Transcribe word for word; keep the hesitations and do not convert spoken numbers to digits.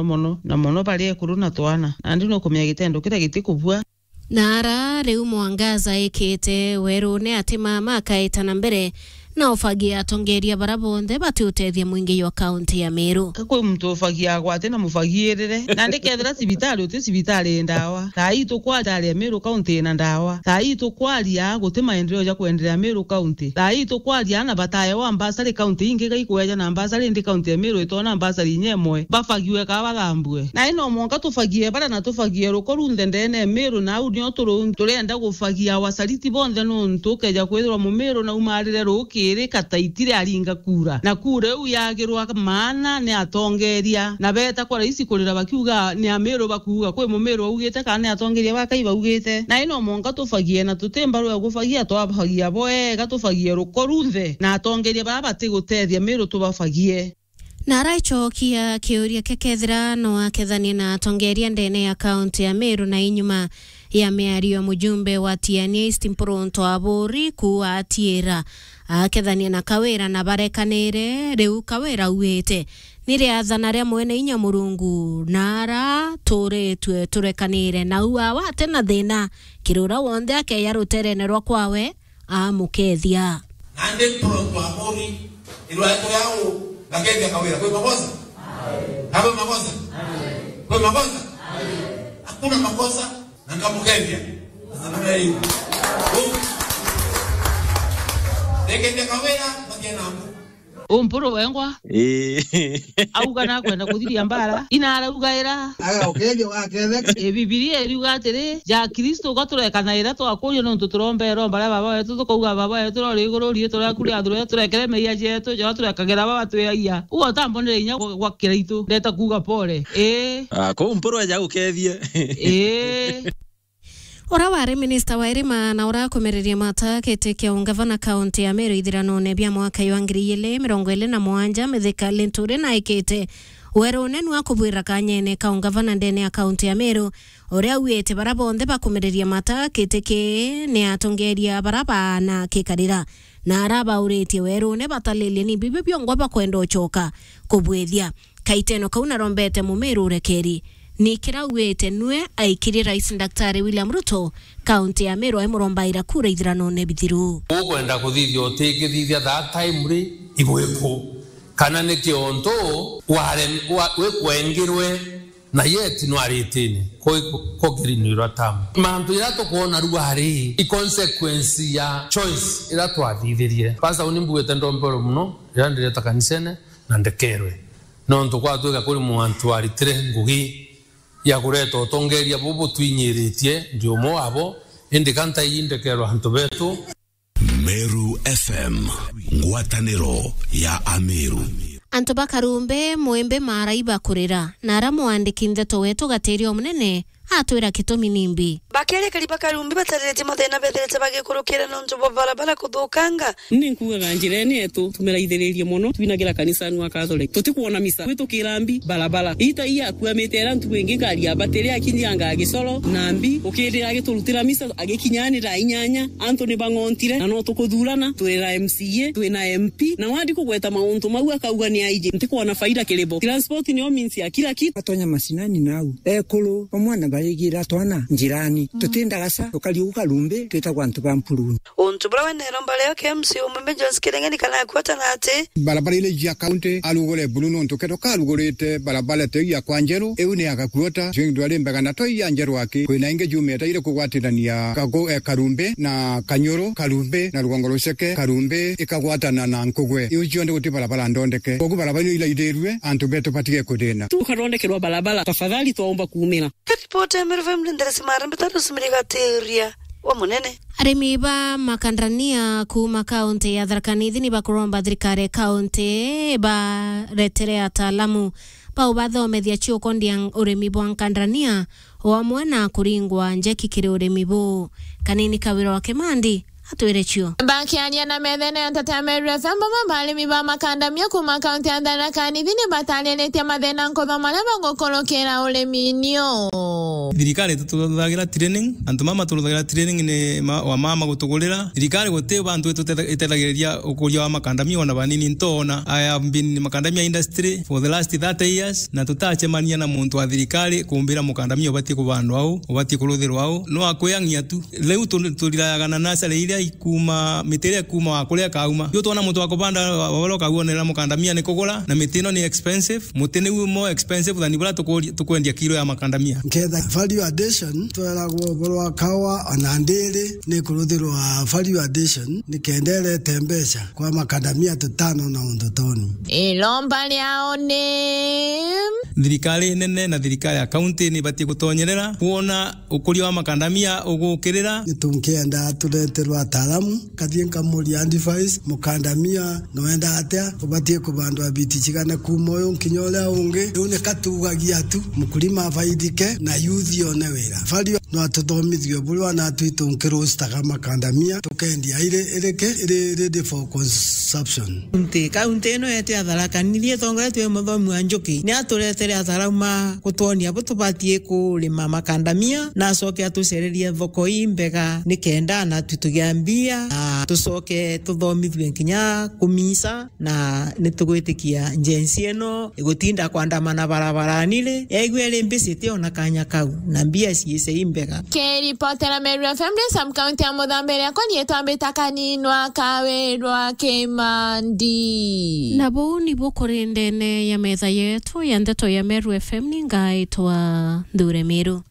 mono, na mono bari ekuru na twana. Nandi nukumenya gitendo kiria gitikubua. Na ara riu Mwangaza ikite werune ati mama akaita na mbere na ufagia atongeria bara bonthe bati utethia mwingi jwa kaunti ya Meru. Kwi muntu ufagia agwate na mufagirire. Nandi kethira cibitari uti cibitari ndawa. Thaa ii tukwaria Meru kaunti ina ndawa. Thaa ii tukwaria guti maendeleo ja kwendelea Meru kaunti. Thaa ii tukwaria ana bataewa mbasari kaunti ingi gaikweja na mbasari indi kaunti ya Meru itona mbasari inya imwe. Bafagiwe ka bathambue. Na ino mwanka tufagie bara na tufagie ruko runthe ndene ya Meru na au nio turu-, turenda gufagia wasaliti bonthe nuntu ukeja kwithirwa Mumeru na umarire rukiri kataitire aringa kura. Na kura iu yagirwa maana ni atongeria. Na beta kwa raisi kurira bakiuga ni Ameru bakuuga kwi Mumeru augite kana ni atongeria ba Kai baugite. Na ino mwanka tufagie na tuti mbaru ya gufagia twafagia bwega tufagie ruko runthe na atongeria baa batigutethia Meru tubafagie. Na araicokia kiuria kia kethira no akethanie na atongeria ndene ya kaunti ya Meru na inyuma ya miario ya mujumbe wa Tiania East Mpurunto Aburi kuuga atiira akethania na Kawira na barekanire, riu Kawira auite ni riathana ria mwene inya Murungu na ara turitue turekanire na u awa ati na thina kiri uria wonthe akeya ruterene rwa kwawe amukethia. Nandi Mpurunto Aburi, irwa yako yao, bakethia Kawira. Kwi makosa? Na kwi makosa? Kwi makosa? Hakuna makosa, na nkamukethia. Sasa namna hiyo. Ndekethia Kawira, bakia na mbu. Umpuru wengwa. Ii. Auga nakwenda kuthiria mbara. Ina arauga ira. Aga ukethio gaketheka. E, Bibilia iriuga atiri, ja Kristo gaturekana ira twakuria nontu turomba iromba ria Baba wetu, tukauga, "Baba wetu uri iguru, riitwa riaku riathurwe, turekere meeyia jetu, ja turekagera baba twiragia." Ugo utambonere inya gwa, gwa kiraitu, ndeta kuuga pole. Ii. Ah, kuu mpuru eja gukethie. Ii. Ura wari minista wa irima na ura akumereria mata giti kia ungavana kaunti ya Meru ithiranone bia mwaka jwa ngiri igiri mirongo iri na mugwanja, Mithika Linturi naikite werune nwa kubwira kanyene ka ungavana ndene ya kaunti ya Meru, uria auite bara bonthe bakumereria mata giti kii ni atongeria bara baana kikarira, na ara bauritie werune batalilie ni bibio biongwa bakwenda ucoka kubwithia. Kaiteno kau narombete Mumiru urekeri. Ni kirauite nwe aikirie Rais Daktari William Ruto, kaunti ya Meru aimurombaira kura ithiranone bithiru. Ukwenda kuthithia utikithithia that time ri igwiku? Kana ni kiontu ware-, wa-, wikwengirwe na yet nwaritini kwi-, kukirinirwa tam? Mantu ira tukwona ruari i consequence ya choice ira twathithirie. Pastor, uni mbugite ndombero muno ira ndireta kanisene na ndekerwe. Nontu gwatwika kuri muntu waritire ngugi ya kureta utongeria bubu twinyiritie, ndi umwe wabo, indi ka ntaiji ndekerwa antu betu. Meru F M, ngwataniro ya Ameru. Antu ba Karumbe, Mwimbi, Maaraiba kurira, na ara mwandiki ndeto wetu Gatiria Omunene atwira gitumi nimbi. Bakeria kari ba Karumbe batariritie mathina bethirite bagikurukira nontu bwa barabara kuthukanga. Ni nkugaga njirene yetu tumiraithiririe mono, twinagira kanisani wa Catholic. Tutikwona misa, gwitukira mbi, barabara. Ita iya akuamite era ntuku ingi ngari ya batiri akinyanga Gisoro na mbi, ukithira agiturutira misa agikinya ni thaa inyanya, antu ni bang'ontire, na no tukuthurana, twina M C A, twina M P, na wandi kugweta mauntu mau akauga ni aiji. Ntikwona faida kiri bo. Transport niyo means ya kila kitu. Atonya macinani nau, ekuru, bamwe na barigira twana njirani. Tuti ndagasa, tukariuka Karumbe, twitagwa antu ba Mpuruni. Untu buria wene iromba rio kia M C A umwe Jones Kirengeni kana akwatana ati, barabara iria cia kaunti arugure buru nontu kethirwa karugurite barabara ta iu ya kwa Njeru, iu ni ya Gakuota, cio ndwari mbega na to iya Njeru aki. Kwina ingi jumite iri kugwatirania Kagu-, eh, Karumbe na Kanyuru, Karumbe na Rugongo Ruceke, Karumbe ikagwatana na Nkugwe. Iu cionthe guti barabara ndondeke. Kogu barabara iu iraithirue, antu betu batige kuthina. Tukathondekerwa barabara, tafadhali twaomba kuumira. Ripoti ya Meru F M, Linda Simara, Mbitari Usimiri Gatiria wa Munene. Arimi ba makandania kuuma kaunti ya Tharaka Nithi ni bakuromba thirikari ya kaunti baretere ataalamu baubathomethia ciukondia urimi bwa nkandania, o amwe na kuringwa njeki kiri urimi buu. Kanini Kawira wa Kimandi atwire cio. Bakiaria na methene ya Nteto ya Meru F M, bamwe ba arimi ba makandamia kuuma kaunti ya Tharaka Nithi ni batariritie mathina nkuthu maria bagukurukira urimi-ini uu. Thirikari itututhagira training, antu mama turuthagira training ni ma, wa mama gutugurira. Thirikari guti bantu itutethagiriria ukuria wa makandamia ona banini. Ntoona I have been makandamia industry for the last thirty years, na tutacemania na muntu wa thirikari kumbira mukandamia ubatie kubandwa au, ubatie kuruthirwa au. No akwiyang'ia tu. Riu tu-, turirayaga na nasari iria ikuma, miti iria ikuma wa kuria kauma. Riu twona muntu wa kubanda wa, wa, wa kaguonera mukandamia ni kugura, na miti ino ni expensive. Muti niu more expensive than buria tukuri-, tukwendia kilo ya makandamia. Nketha value addition, tweragwo uboro wa kawa ona ndiri ni kuruthirwa value addition, ni kenda irete mbeca kwa makandamia tutano na undu toni. Iromba riao ni thirikari nene na thirikari ya kaunti ni ibatie gutonyerera kwona ukuria wa makandamia ugukirira. Ni tunkienda tureterwa ataalamu, kathie nkamuria advice, mukandamia nwenda atia, ubatie kubandwa biti cigana kuma uyu nkinya uria ungi. Riu ni katugagia tu, mkulima afaidike na youth yone wira. Value no atuthomithie buria wana twitu nkirustaga makandamia, tukendia iri, iriki, iri ready for consumption. Nti, kaunti ino yetu ya Tharaka Nithi itongoretue ni muthomi wa Njuki, ni aturetere ataalamu ma gutwonia bu tubatie kurima makandamia, na acoke atucererie thoko imbega, ni kenda na tu tugia mbia, na tucoke tuthomithue nkinya kumisa, na ni tugwitikia njensi ino igutinda kwandamana barabarani ri, yaigue iri mbicite ona kanya kau, na mbia ciice imbega. Kiripotera Meru F M, ndi Sam County ya Muthambe, riakwa nietwa Mbita Kaninwa Kawirwa Kimandi. Na buu nibu kuri ndene ya metha yetu ya ndeto ya Meru F M, ni ngaitwa Nthure Miru.